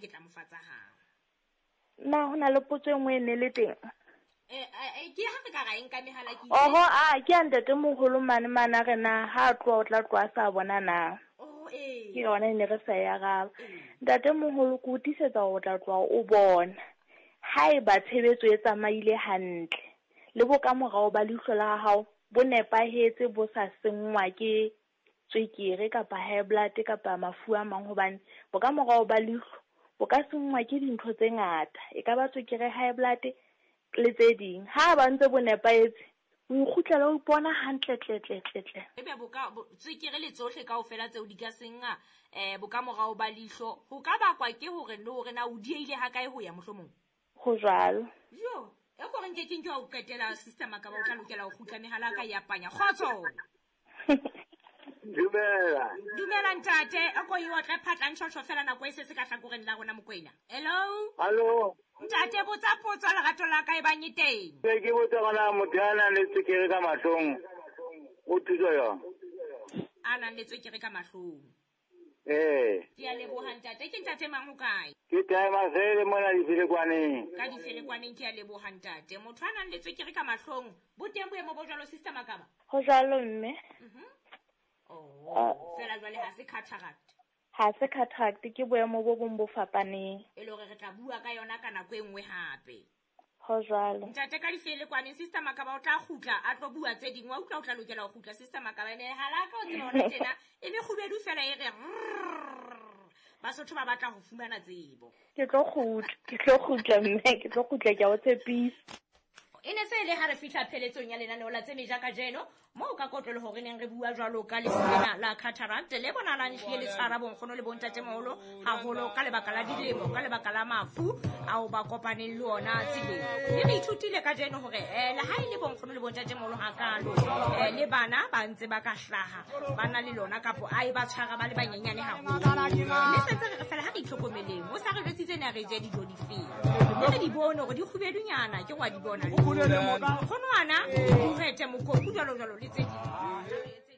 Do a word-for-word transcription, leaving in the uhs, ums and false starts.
ke tla mo fa tsa hao. Na ho na le potso e nngwe e ne le teng? Eh eh ke ha re ka ra e nka mehala ke Oho, a ke a ntate moholo mane mane a re na ha a tloha o tla tloha a sa bona na. Oh eh. Ke yona e ne re sa e araba. Ntate moholo ke o tiisetsa hore o tla tloha o bona. Haeba tshebetso e tsamaile hantle le bokamorao ba leihlo la hao bo nepahetse bo sa senngwa ke tswekere kapa high blood kapa mafu a mang, hobane bokamorao ba leihlo bo ka senngwa ke dintho tse ngata, e ka ba tswekere, high blood le tse ding. Ha ba ntse bo nepahetse, o ikgutlela o ipona hantle tle tle tle tle. Ebe bo ka tswekere le tsohle kaofela tseo di ka senngwa eh bokamorao ba leihlo, ho ka bakwa ke hore le hore na o dieile ha kae ho ya mohlomong? Ho jwalo. Jo, e ko re nke ke nke wa o qetela sister Makaba, o tla lokela ho kgutla mehala ka ya panya. Kgotso. Dumela. Dumela ntate, o ko e otle phatla ntshotho fela nako e se se ka hlakoreng la rona Mokoena. Hello. Hallo. Ntate, botsa potso lerato la ka e bang e teng. Ke ke botsa gona motho a nang le tswekere ka mahlong o thuso yona. A nang le tswekere ka mahlong. Eh. Ke a leboha ntate, ke ntate mang o kae? Ke Timer Fele mona Difelekwaneng. Ka Difelekwaneng, ke a leboha ntate. Motho a nang le tswekere ka mahlong, bo teng boemo bo jwalo sister Makaba? Ho jwalo mme. Mhm. Oh, fela jwale ha se cataract. Ha se cataract, ke boemo bo bong bo fapaneng. E le hore re tla bua ka yona ka nako e nngwe hape. Ho jwalo. Ntate ka Difelekwaneng, sister Makaba o tla kgutla a tlo bua tse ding. Wa utlwa o tla lokela ho kgutla sister Makaba, ene hala ka o tseba hona tjena e mekgubedu fela e re Basotho ba batla ho fumana tsebo. Ke tlo kgutla, ke tlo kgutla mme, ke tlo kgutla, ke a o tshepisa. E ne se le ha re fihla pheletsong ya lenaneo la tse meja kajeno, moo ka kotloloho hore neng re bua jwalo ka lefu lena la cataract le bonahalang ehlile le tshwara bonkgono le bontatemoholo haholo ka lebaka la dilemo, ka lebaka la mafu ao ba kopaneng le ona tseleng. Mme re ithutile kajeno hore eh le ha e le bonkgono le bontatemoholo hakalo, eh le bana ba ntse ba ka hlaha ba na le lona kapo a e ba tshwara ba le banyenyane haholo. Mme sentse re re fela ha re itlhokomeleng, o sa re jwetsitse ne re je dijo difeng, mme re di bone hore di kgubedunyana, ke wa di bona. Kgonwana, o rete mokopu jwalo jwalo le tse ding.